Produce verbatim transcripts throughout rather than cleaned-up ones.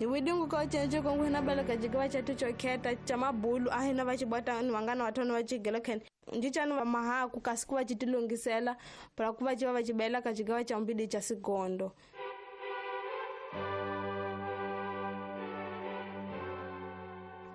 Hi widingu ka cenco kongu hina bela ka cigawa catu coketa ca mabulu a hina va cibota ni vangana wa thona va cigela khene njicani va mahaku kasi ku va ci tilungisela para ku va ci va va cibela ka cigawa ca mbidi ca sigondo.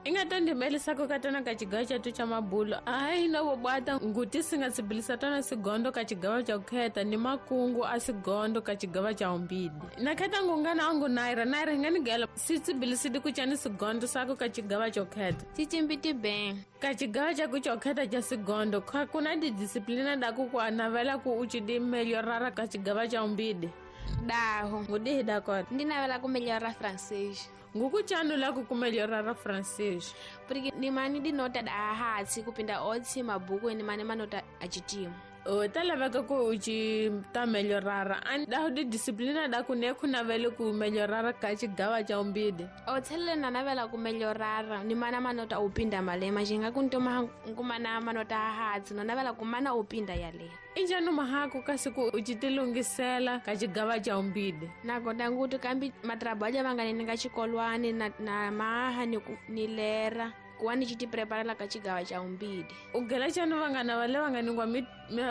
Ingatondimelisako katana ka cigawa catu ca mabulu a hina vobwata nguti singa sibilisa tona sigondo ka cigawa ca kukheta ni makungu a sigondo ka cigawa ca umbidi na kheta ngungana angu naira naira hinganigela sitsibilisidi kucani sigondo sako ka cigawa ca kukheta cicimbiti bem ka cigawa caku cokheta ca sigondo kuna didisiplina daku ku anavela ku ucidi melhorara ka cigawa ca umbidi. Daho ngudihi dakota ndinavela ku melhorara francês. Ngukuchanu lako kumelhorara francês porque nimani dinota da hatsi kupinda otsi mabuku nimani manota achitimu. O talaveka ku uci ta melhorara ani daho di disciplina da ku ne ku navele ku melhorara ka cigawa ca umbidi. O tselele na navela ku melhorara nimana manota upinda malema jinga kuntoma nkumana manota hatsi no navela kumana upinda yale. Injani mahaku kasi ku ucitilungisela ka cigawa ca umbidi. Nagonda nguti kambi matrabalho vangani nga xikolwani na, na maha ni, ni lera kuwa ni citi preparela ka cigawa ca umbidi. Ugela cani vangana vale vanganingwa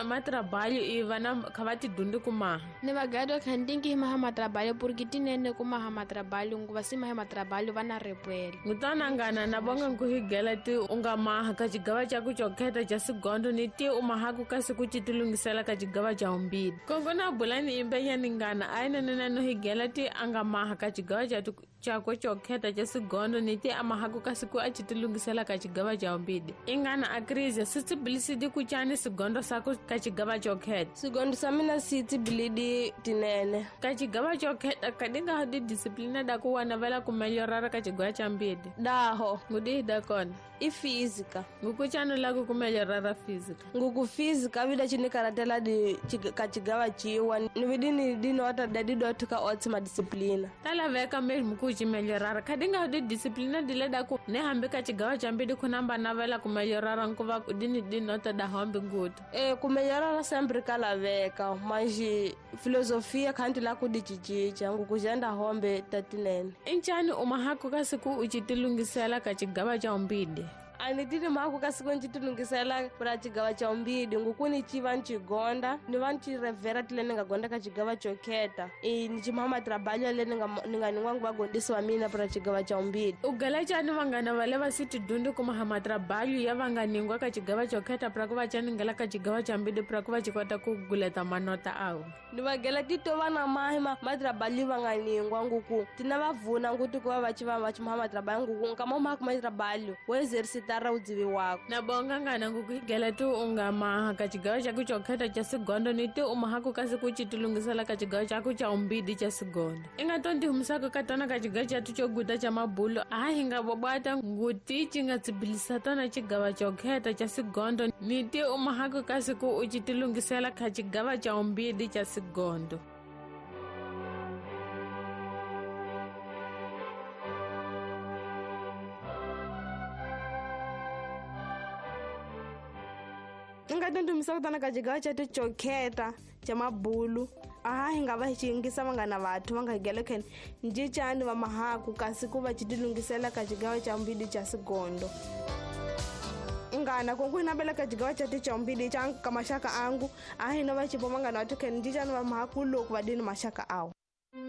matrabalho i vana kha va tidundi ku maha. Ni vagado kha ndingi maha matrabalho porque tinene ku maha matrabalho nguva si maha matrabalho va na repwela. Ngutana ngana na bonga nkuhigela ti u nga maha ka cigawa ca ku cokheta ca sigondo ni ti u mahaku kasi ku citilungisela ka cigawa ca umbidi. Kongo na bulani imbenyani ngana a inene no higela ti a nga maha ka cigawa ca cakwe cokheta ca sigondo ni ti a mahaku kasi ku a citilungisela ka cigawa ca umbidi. Ingana a crise sitsibilisidi ku cani sigondo sako ka cigawa cokheta. Sigondo sa mina sitsibilidi tinene ka cigawa cokheta kadinga di disciplina da ku wanavela ku melhorara ka cigawa ca mbidi. Daho ngudihi dakona i física. Ngukuchanu lako ku melhorara física. Nguku física vida cinikaratela di ka cigawa ciwa ni vidini dinota da didoti ka otsi ma disciplina. Talaveka mesmo ku ci melhorara kadinga di disciplina dile da ku ne hambi ka cigawa ca mbidi kunamba navela ku melhorara nkuva dini dinota da hambi ngutu. E ku melhorara sempre kalaveka manji filosofia kanti la ku dicicija nguku jenda hombe tatinene. Inchani umahaku kasi ku ucitilungisela ka cigawa ca umbidi. Ani tini mahaku kasi ku ncitilungisela pra cigawa ca umbidi nguku ni civa ncigonda ni va ncirevera tile ni nga gonda ka cigawa cokheta e ni cimaha matrabalho le ni nga ni nga ningwa ngu vagondisi va mina pra cigawa ca umbidi. Ugela cani vangana vale va si tidundi ku maha matrabalho ya va nga ningwa ka cigawa cokheta pra ku va caningela ka cigawa ca mbidi pra ku va ci kota ku guleta manota awo. Ni vagela tito va na mahi matrabalho va nga ningwa nguku tina va vuna nguti ku va va ci va va cimaha matrabalho nguku nkama mahaku matrabalho wo exercitara udzivi wako. Na bonga ngana ngukuhigela ti u nga maha ka cigawa caku cokheta ca sigondo ni ti u mahaku kasi ku citilungisela ka cigawa caku ca umbidi ca sigondo. Inga tondi humisako ka tona ka cigawa catu coguta ca mabulu a hi nga vobwata nguti ci nga tsibilisa tona cigawa cokheta ca sigondo ni ti u mahaku kasi ku u citilungisela ka cigawa ca umbidi ca sigondo. Nga kutana ka cigawa catu cokheta ca mabulu aha hi nga va hi cingisa vangana vathu va nga higela khene njicani va mahaku kasi ku va citilungisela ka cigawa ca mbidi ca sigondo. Ngana kongu hina bela ka cigawa catu ca mbidi ca ka maxaka angu a hina va cipo vangana vathu khene njicani va mahaku loko va dini maxaka awo.